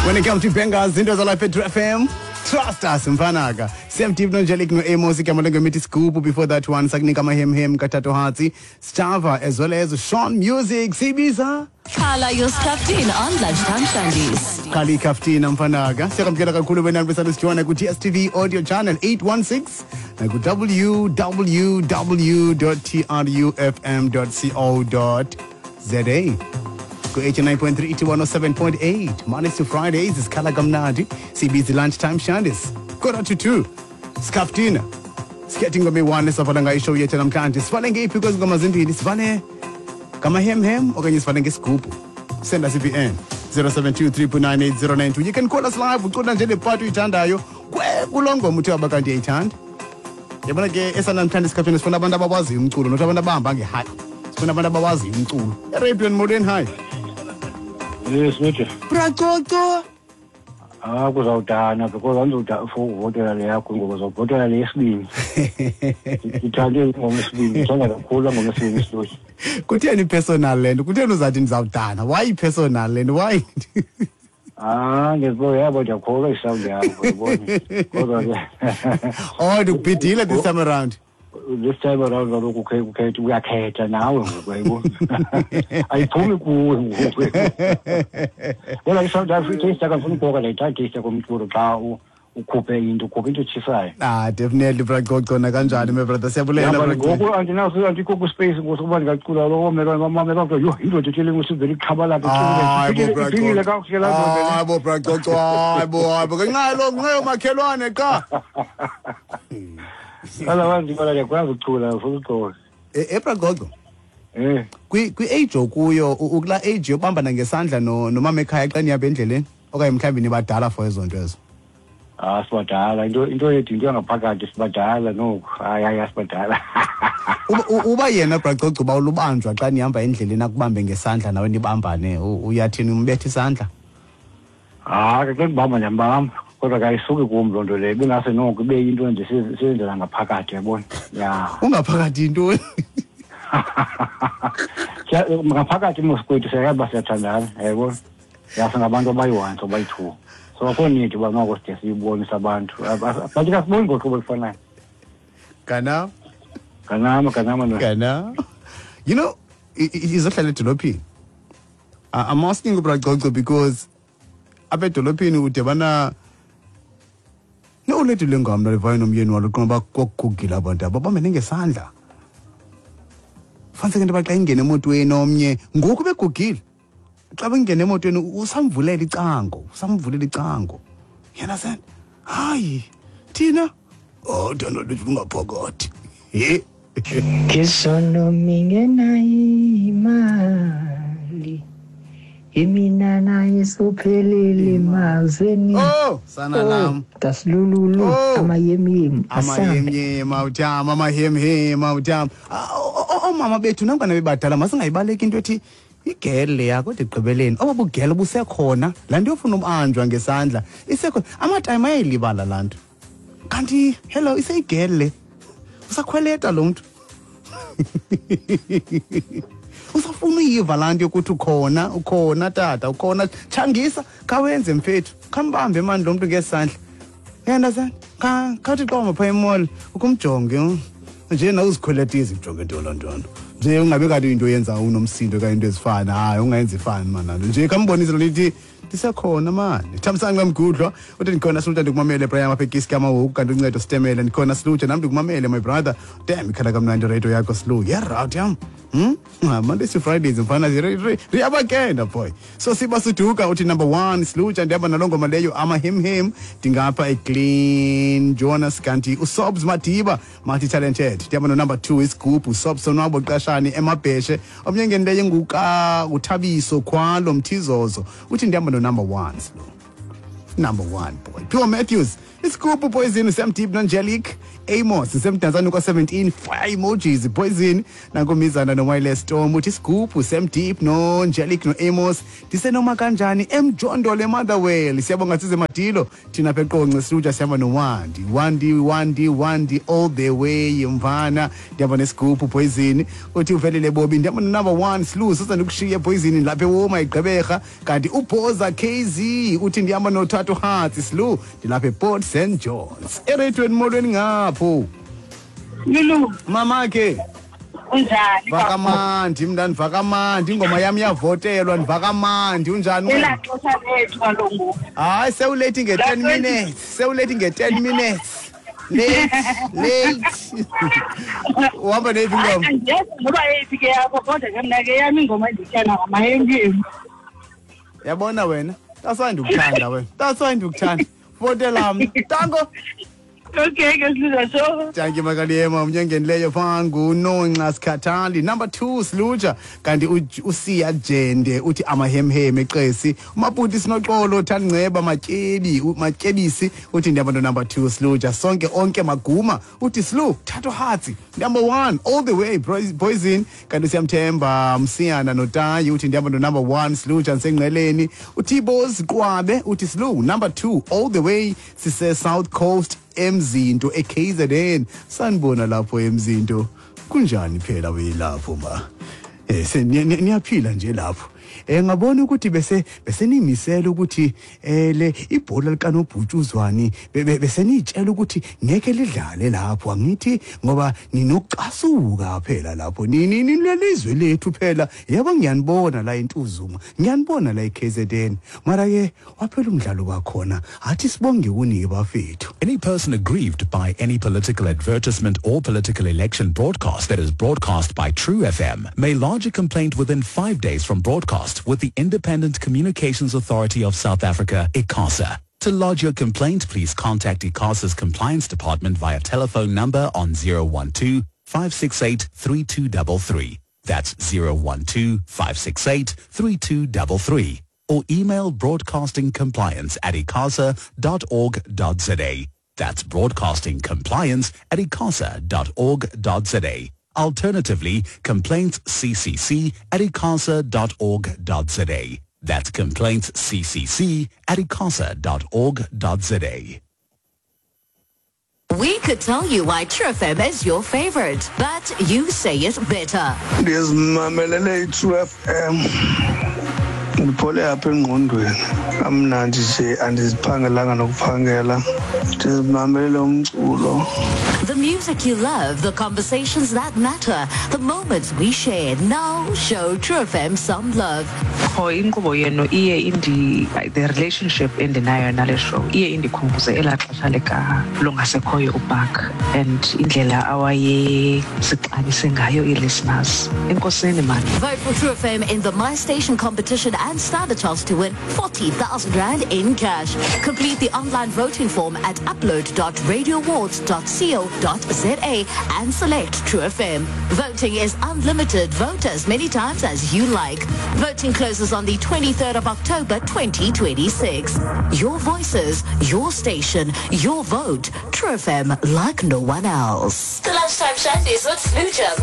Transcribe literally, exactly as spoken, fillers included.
When it comes to bangers, into zalapha True F M, trust us mfanaka. Sam Deep no no Amos ikamalenge mithi Scoop before that one sakunika amahemhem kaTato Hatsi, Stava as well as Sean Music Sibiza. Khala your Skaftin on Lunchtime Shandies. Khala Skaftin mfanaka. Siyakamkela kakhulu wena besana sijoina ku D S T V audio channel eight one six na ku w w w dot t r u f m dot co dot z a. eighty-nine point three to one oh seven point eight. Mondays to Fridays is Khala Kamnandi. C B C Lunchtime Shandies. Quarter to two. Skaftina. Sketting ngome one savala ngayo show yethu namhlanje. Sivale ngeyiphi kwezi ngoma zimbili? Sivale ngamahemhem okanye sivale ngesigubhu? Send us I B N zero seven two three nine eight zero nine two. You can call us live. Ucula nje le part uyithandayo. Kuloo ngoma uthe abakanti uyayithanda. Yabona ke esanamhlanje Skaftina sifuna abantu abawaziyo umculo, not abantu abahamba ngehayi. Sifuna abantu abawaziyo umculo. Arabian Modern High. Yes, Major. Bracoco. Ah, kuzawudana because andizawuda for ukuvotela le yakho ngoba uzawuvotela le yesibini. Ndithande ingoma yesibini, ndithanda kakhulu ngoma yesibini isiloyi. Kutheni personal le nto? Kutheni uzathi ndizawudana? Why personal le nto? Why? Ah, ngiyabo yabo ndiyakholwa isound yakho yabona. Kodwa ke oh, ndikubhidile this time around. This time around kaloku ukhetha uyakhetha nawe ngoku yayibona. Ayiphumi kuwe ngoku. Kodwa isound yakho itaste akafuni ukubhoka le taste komculo xa ukhuphe into ukhuphe into etshisayo. Ah, definitely Bracoco na kanjani my brother. Siyabulela Bracoco. Ngoku andinaso andikho ku space ngoku kuba ndingacula lo meka mama meka yho indoda ethile ngusivele iqhabalaka ethile. Kakuhle la ndoda. Hayi bo Bracoco, hayi bo hayi bo ngenxa lo ngenxa yomakhelwane qha. Otherwise ndibona ndiyakwazi ukucula ufuna uxolo. Eh Bracoco. Eh. Kwi kwi age okuyo ukula age yobambana ngesandla no nomama ekhaya xa nihamba endleleni okanye mhlawumbi nibadala for ezo nto ezo. Ah sibadala into into yethu into yangaphakathi sibadala nokho hayi hayi sibadala. Uba yena Bracoco uba ulubanjwa xa nihamba endleleni akubambe ngesandla nawe nibambane uyathini umbethe isandla? Ah ke ndibamba ndiyambamba. Kodwa kayisuki kum loo nto leyo ibingase noko ibe yinto nje siyenzela ngaphakathi yabona. Ya ungaphakathi yintoni? Ngaphakathi mos kwethu siyayazi siyathandana yayibona. Ya singabantu abayi-one abayi-two. So akho need uba noko side siyibonise abantu. But asiboni ngohlobo olufanayo. Kana? Kanama kanama no. Kana. You know, izohlala edolophini. I'm asking uBracoco because apha edolophini udibana nolethu lengam levayo nomyeni walo qoma bakugugila abantu ababambene ngesandla. Fanele into xa ingene emotweni omnye ngoku begugile. Xa bengene emotweni usamvulela icango, usamvulela icango. Yena sen, hayi thina oh dano lethu ungaphakathi. He. Ngesono mingena imali. Imina naye sophelele mazweni. Oh, sana lam. Tasilululu amayemyem. Amayemyem awutham amahemhem awutham. Oomama bethu nangona bebadala masingayibaleki into ethi igele yakho kodwa ekugqibeleni oba bugele busekhona laa nto yofuna ubanjwa ngesandla isekhona. Amatime ayayilibala laa nto. Kanti hello iseyigele. Usakhweleta lo mntu. Usafuna uyiva laa nto yokuthi ukhona ukhona tata ukhona tshangisa khawenze mfethu khambambe mani lo mntu ngesandla. You understand? Khawuthi xa uhamba phaa emall ukumjonge nje nawe uzikhweletise ujonge into loo nto nje ungabe kanti into oyenza unomsindo okanye into ezifana hayi ungayenzi ifani mani nje khambonise loo nto ithi ndisekhona mani. Thamsanqa Mgudlwa uthi ndikhona Silutsha ndikumamele Brian apha eKiski amahoku kanti uncedo sitemele ndikhona Silutsha nam ndikumamele my brother. Damn ikhala kamnandi radio yakho Silu. Yeah right yam. Hmm? Mondays to Fridays mfana riyabakenda boy. So siba suduka uthi number one Silutsha ndihamba naloo ngoma leyo amahemhem ndingapha eClean Jonas kanti uSobs Madiba multi talented ndihamba no number two isigubhu Sobs Sonwabo Qashani emabheshe omnye ngenileyo nguka uThabiso Khwalo Mthizozo uthi ndihamba no number one slow. Number one boy. Pure Matthews Isigubhu Poison Sam Deep Nangelic Amos semdantsane kwa seventeen fire emojis Poison nankomizana no Wireless Storm uthi isigubhu Sam Deep no Angelic no Amos ndisenoma kanjani emjondolo eMotherwell. Siyabonga size madilo thina apha eQonce silutsha sihamba noWandi Wandi Wandi Wandi all the way mvana. Ndihamba nesigubhu Poison uthi uvelele Bobi ndihamba no number one Slu sasa ndikushiye Poison lapha ewoma igqeberha. Kanti uBhoza K Z uthi ndihamba nothathu Hearts Slu ndilapha ePort Saint John's eretweni molweni ngapho. Lulu mamakhe unjani? Vakamandi mntana, vakamandi ingoma yami iyavotelwa ndivakamandi. Unjani wena? Elaa xesha lethu kaloku ngoku. Hayi sewulate nge-ten minutes, sewulate nge-ten minutes. Late, late. Uhamba neyiphi ingoma? Andiyazi noba yeyiphi ke yakho kodwa ke mna ke yam ingoma endiyithanda ngamayemyem. Yabona wena, that's why ndikuthanda wena. That's why ndikuthanda. Votela mna. Tango. Okay, ke siluza so. Thank you Makaliyema umnyengenileyo phangu nonxa sikhathali. Number two Siluja kanti uSiya Jende uthi amahemhem eqesi. Umaputi sinoxolo Thandnceba Matyebi Matyebisi uthi ndihamba no number two Siluja. Sonke onke Maguma uthi Slu Thato Hatsi number one all the way Poison kanti siyamthemba Msiyana noTayi uthi ndihamba no number one Siluja nsenqeleni. uTibos Qwabe uthi Slu number two all the way sise South Coast Emzinto e K Z N. Sanibona lapho Emzinto, kunjani phela weyilapho ma? Eh niyaphila nje lapho. Eh ngabona ukuthi bese bese nimisela ukuthi eh le ibhola likanobhutshuzwani bese nitshela ukuthi ngeke lidlale lapho angithi ngoba ninokucasuka phela lapho nini nilelizwe lethu phela. Yebo ngiyanibona la eNtuzuma, ngiyanibona la e K Z N, mara ke waphela umdlalo wakhona athi sibonge kunike bafethu. Any person aggrieved by any political advertisement or political election broadcast that is broadcast by True F M may lodge a complaint within five days from broadcast with the Independent Communications Authority of South Africa, ICASA. To lodge your complaint, please contact ICASA's Compliance Department via telephone number on zero one two, five six eight, three two three three. That's zero one two, five six eight, three two three three. Or email broadcastingcompliance at icasa dot org dot za. That's broadcastingcompliance at icasa dot org dot za. Alternatively, complaints c c c at icasa dot org dot za. That's complaints c c c at icasa dot org dot za. We could tell you why True F M is your favorite, but you say it better. Ndizimamelele i-True F M. Ndiphole apha engqondweni. Amnandi nje andiziphangelanga nokuphangela. Ndizimamelele umculo. The music you love, the conversations that matter, the moments we share. Now show True F M some love. Qho inkqubo yenu iye indi the relationship endinayo nale show iye indikhumbuze elaa xesha lika longasekhoyo uBark and indlela awayesixabise ngayo ii-listeners. Enkosini man. Vote for True F M in the My Station competition and stand a chance to win forty thousand rand in cash. Complete the online voting form at upload dot radio awards dot co dot za and select True F M. Voting is unlimited. Vote as many times as you like. Voting closes on the twenty-third of October twenty twenty-six. Your voices, your station, your vote. True F M like no one else. The Lunchtime Shandies with Sluja.